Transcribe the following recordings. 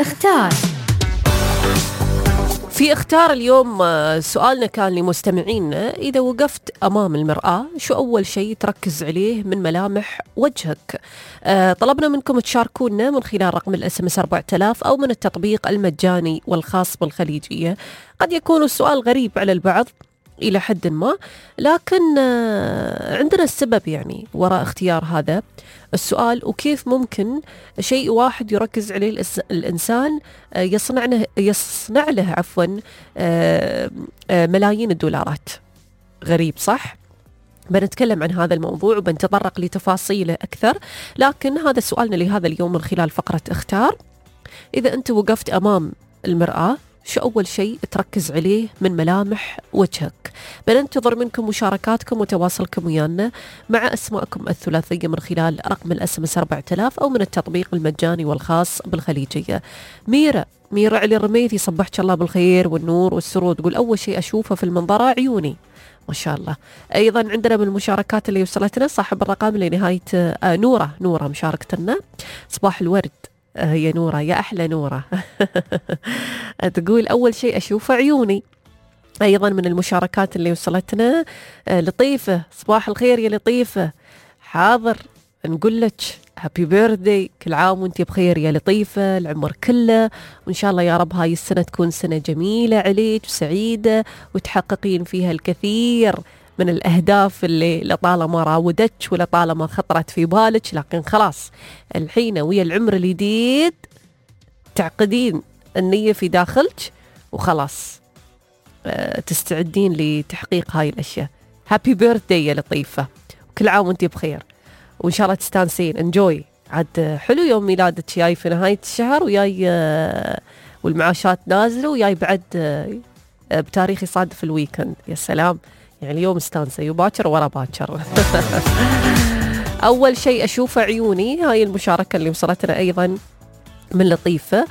اختار. في اختار اليوم سؤالنا كان لمستمعينا: إذا وقفت أمام المرآة شو أول شيء تركز عليه من ملامح وجهك؟ طلبنا منكم تشاركونا من خلال رقم الSMS 4000 أو من التطبيق المجاني والخاص بالخليجية. قد يكون السؤال غريب على البعض إلى حد ما، لكن عندنا السبب يعني وراء اختيار هذا السؤال، وكيف ممكن شيء واحد يركز عليه الإنسان يصنع له ملايين الدولارات. غريب صح؟ بنتكلم عن هذا الموضوع وبنتطرق لتفاصيله أكثر، لكن هذا سؤالنا لهذا اليوم من خلال فقرة اختار. إذا أنت وقفت أمام المرآة شو أول شيء تركز عليه من ملامح وجهك؟ بننتظر منكم مشاركاتكم وتواصلكم ويانا مع أسماءكم الثلاثية من خلال رقم الSMS 4000 أو من التطبيق المجاني والخاص بالخليجية. ميرا علي الرميثي صبحك الله بالخير والنور والسرور، تقول أول شيء أشوفه في المنظرة عيوني. ما شاء الله. أيضا عندنا من المشاركات اللي وصلتنا صاحب الرقم لنهاية نورة مشاركتنا. صباح الورد هي نورة، يا أحلى نورة. تقول أول شيء أشوفه عيوني. أيضا من المشاركات اللي وصلتنا لطيفة، صباح الخير يا لطيفة. حاضر نقول لك هابي بيرثدي، كل عام وانت بخير يا لطيفة، العمر كله، وإن شاء الله يا رب هاي السنة تكون سنة جميلة عليك وسعيدة وتحققين فيها الكثير من الأهداف اللي لطالما راودتك ولطالما خطرت في بالك، لكن خلاص الحين ويا العمر الجديد تعقدين النية في داخلك وخلاص تستعدين لتحقيق هاي الأشياء. هابي بيرثدي يا لطيفة، وكل عام وانت بخير، وإن شاء الله تستانسين. انجوي عاد حلو يوم ميلادك جاي في نهاية الشهر، وياي والمعاشات نازلة، وياي بعد بتاريخ يصادف الويكند. يا سلام، يعني اليوم استانسة وباكر ورا باكر. أول شيء أشوفه عيوني، هاي المشاركة اللي وصلتنا أيضا من لطيفة.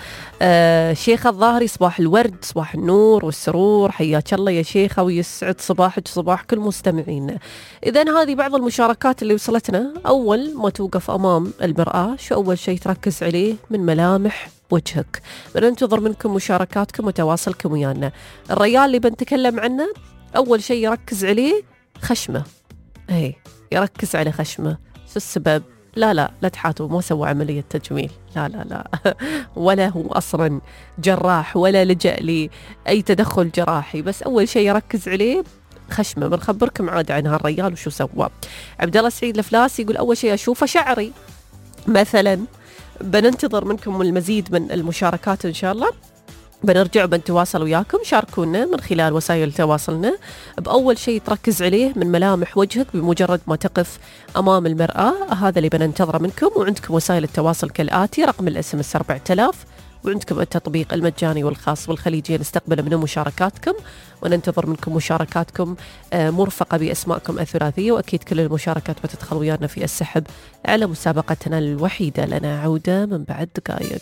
شيخة الظاهري صباح الورد، صباح النور والسرور، حياك الله يا شيخة ويسعد صباحك صباح كل مستمعين. إذن هذه بعض المشاركات اللي وصلتنا. أول ما توقف أمام المرآة شو أول شيء تركز عليه من ملامح وجهك؟ بننتظر منكم مشاركاتكم وتواصلكم ويانا. الرجال اللي بنتكلم عنه أول شيء يركز عليه خشمه، يركز على خشمه. شو السبب؟ لا تحاتوا، ما سوى عملية تجميل، لا ولا هو أصلا جراح ولا لجأ لأي تدخل جراحي، بس أول شيء يركز عليه خشمه. بنخبركم عاد عن هالرجال وشو سوى. عبد الله سعيد الفلاس يقول أول شيء أشوفه شعري مثلا. بننتظر منكم المزيد من المشاركات إن شاء الله. بنرجع بنتواصل وياكم، شاركونا من خلال وسائل تواصلنا بأول شيء تركز عليه من ملامح وجهك بمجرد ما تقف أمام المرآة. هذا اللي بننتظره منكم. وعندكم وسائل التواصل كالآتي: رقم الSMS 4000، وعندكم التطبيق المجاني والخاص بالخليجية. نستقبل من مشاركاتكم وننتظر منكم مشاركاتكم مرفقة بأسماءكم الثلاثية، وأكيد كل المشاركات بتدخل ويانا في السحب على مسابقتنا الوحيدة لنا عودة من بعد دقائق.